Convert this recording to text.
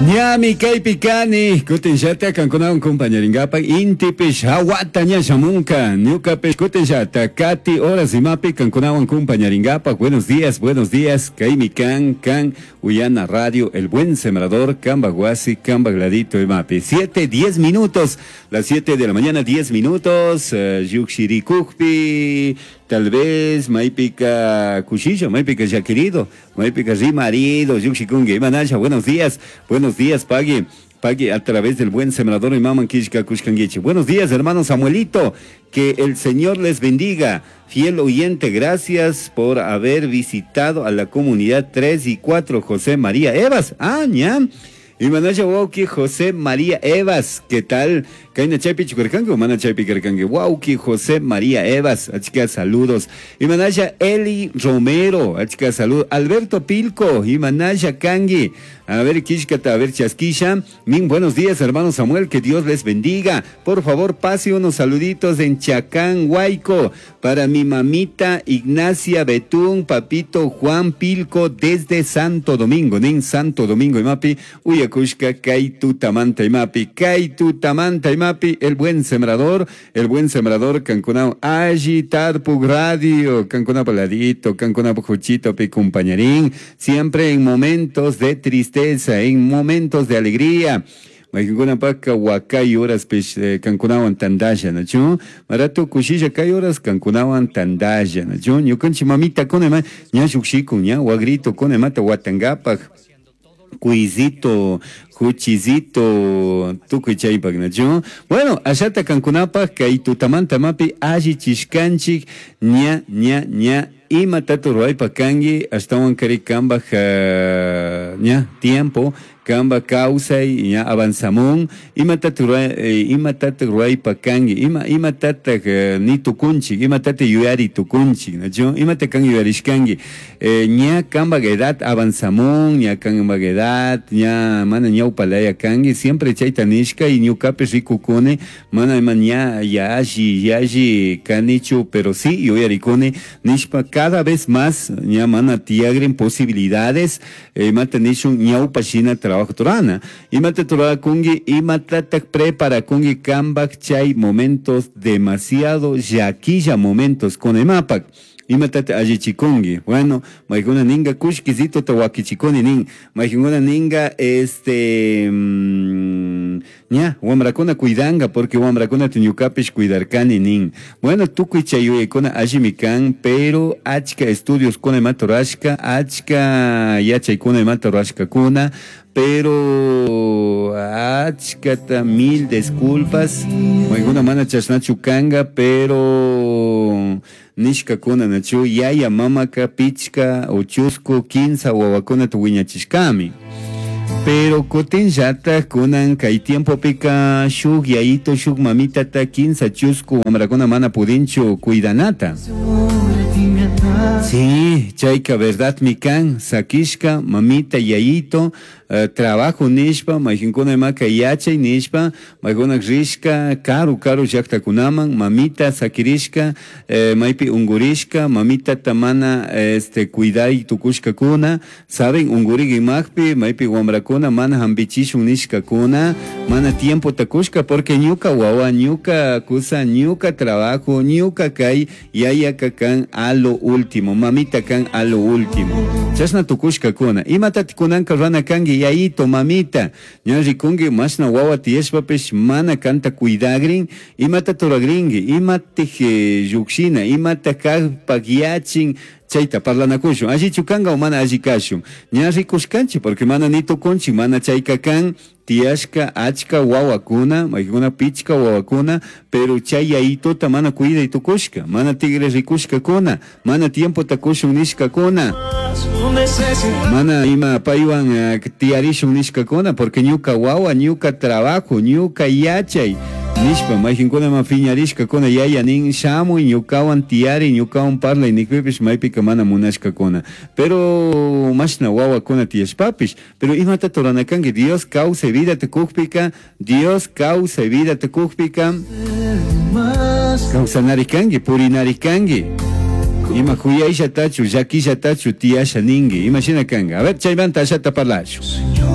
Ñami kaypi kani, kutinllata kankunawan compañeringapaq intipish hawata ña shamunka, ñukapish kutinllata kati horas imapi kankunawan compañeringapaq. Buenos días, kaymi kan, kan Uyana Radio, El Buen Sembrador, Kamba Huasi, Kamba Gladito imapi. 7, 10 minutos, las 7 de la mañana, 10 minutos, llukshirikukpi, tal vez maypika kushilla, maypika ya querido, maypika rimarido, llukshikunki, imanasha, buenos días, pagui. Pagui a través del Buen Sembrador y Maman Kishka Kushkanguichi. Buenos días, hermano Samuelito. Que el Señor les bendiga. Fiel oyente, gracias por haber visitado a la comunidad 3 y 4, José María Evas. Ah, ña. Imanasha wauki José María Evas, ¿qué tal? Kaina chaypi chukarkanki o mana chaypi karkanki? Wauki José María Evas, achka saludos. Imanasha Eli Romero, achka saludos. Alberto Pilco, Imanasha Kangi. A ver, Kishkata, a ver, Chasquisha. Min, buenos días, hermano Samuel, que Dios les bendiga. Por favor, pase unos saluditos en Chacán, Huayco, para mi mamita Ignacia Betún, papito Juan Pilco, desde Santo Domingo, nin Santo Domingo, imapi, uyakushka, kaitu tamanta, imapi, kaitu tamanta, imapi, el buen sembrador, Cancunao, allí Tarpug Radio, Cancunao paladito, Cancunao juchito, pi compañerín, siempre en momentos de tristeza, en momentos de alegría. Maykuna paka wakay horas pish kankunawan tandalla, nachu? Marato kushilla kay horas kankunawan tandalla, nachu? Ñukanchik mamita kuna ma, ña lluqshikun, ña wagrito kuna mata watangapak, cuisito, juchizito, tukuy chaypak, nachu? Bueno, allata kankunapak kay tutamanta mapi alli chishkanchik, ña, ña, ña, ima tatu ruwaypa kanki, ashtawan kari kambaj, ña, tiempo, kamba kawsay, ña avanzamun, ima tatu ruway ima tatu ruwaypa kanki, ima, ima tatak ni tukunchik, ima tata yuyari tukunchik, nachu? Ima ta kan yuyarishkanki, ña kambaj edad avanzamun, ña kambaj edad, ña mana ñawpalaya kanki, siempre chayta nishka y ñukapish rikukuni, mana ima ña yalli, yalli kanichu, pero sí yuyarikuni, nishpa cada vez más ña mana tiyagrin posibilidades, imata nishun ñawpa shina trabajo turana, imata turakungi, imatatak preparakungi kambak chay momentos demasiado llaquilla momentos con emapak. Imatata allichikungi. Bueno, maykuna ninga kushkisito ta wakichikuni nin. Maykuna ninga, este, ña, wamrakuna cuidanga, porque wamrakuna ñukapish cuidarkani nin. Bueno, tukuy chay yuyaykuna allimi kan, pero achka estudios kuna imata rurashka, achka yachaykuna imata rurashkakuna, pero achkata mil disculpas. Maykuna mana chashnachu kanga, pero nishkakuna nachu yaya mamaka pichka o chusku kinsa wawakunata wiñachishkami. Pero kutinllata kunan kay tiempopika shuk yayito shuk mamitata kinsa chusku wamrakuna mana pudinchu cuidanata. Sí, chayka verdad mi kan, sakishka, mamita, yayito, trabajo nishpa, mayjinkuna imaka yachay nishpa, maykuna rishka, karu, karu llaktakunaman, mamita sakirishka, maypi ungurishka, mamita tamana, este, cuiday tukushkakuna, saben, ungurik imakpi, maypi wamrakuna, mana hampichishun nishkakuna, mana tiempo takushka, porque ñuka wawa, ñuka kusa, ñuka trabajo, ñuka kay, yayaka kan a lo último, mamita kan a lo último. Chashna tukushkakuna, imatati kunanka rana kanki, yayito, mamita, ña rikunki, mashna wawa tiyashpapish, mana kanta cuidagrin, imata turagrinki, imatij llukshina, imata kajpak yachin, chayta parlanakushun, allichu kanka o mana alli kashun. Ña rikushkanchik, porque mana ni tukunchik, mana chayka kan, tiyashka achka wawakuna, maykuna pichka wawakuna, pero chay yayitota mana cuiday tukushka, mana tigre rikushkakuna, mana tiempo takushun nishkakuna, mana ima paywan tiyarishun nishkakuna, porque ñuka wawa, ñuka trabajo, ñuka yachay, nishpa, mayjinkuna ma piñarishkakuna, yaya nin shamuy, ñukawan tiyari, ñukawan parlay, nikpipish maypika mana munashkakuna. Pero mashna wawakuna tiyashpapish, pero imata turanakanki, Dios kawsay vida tukukpika, Dios kawsay vida tukukpika, kawsanari kanki, purinari kanki. Ima kuyayllatachu, llakillatachu tiyasha ninki, ima shina kanka. A ver, chaymanta ashata parlashu.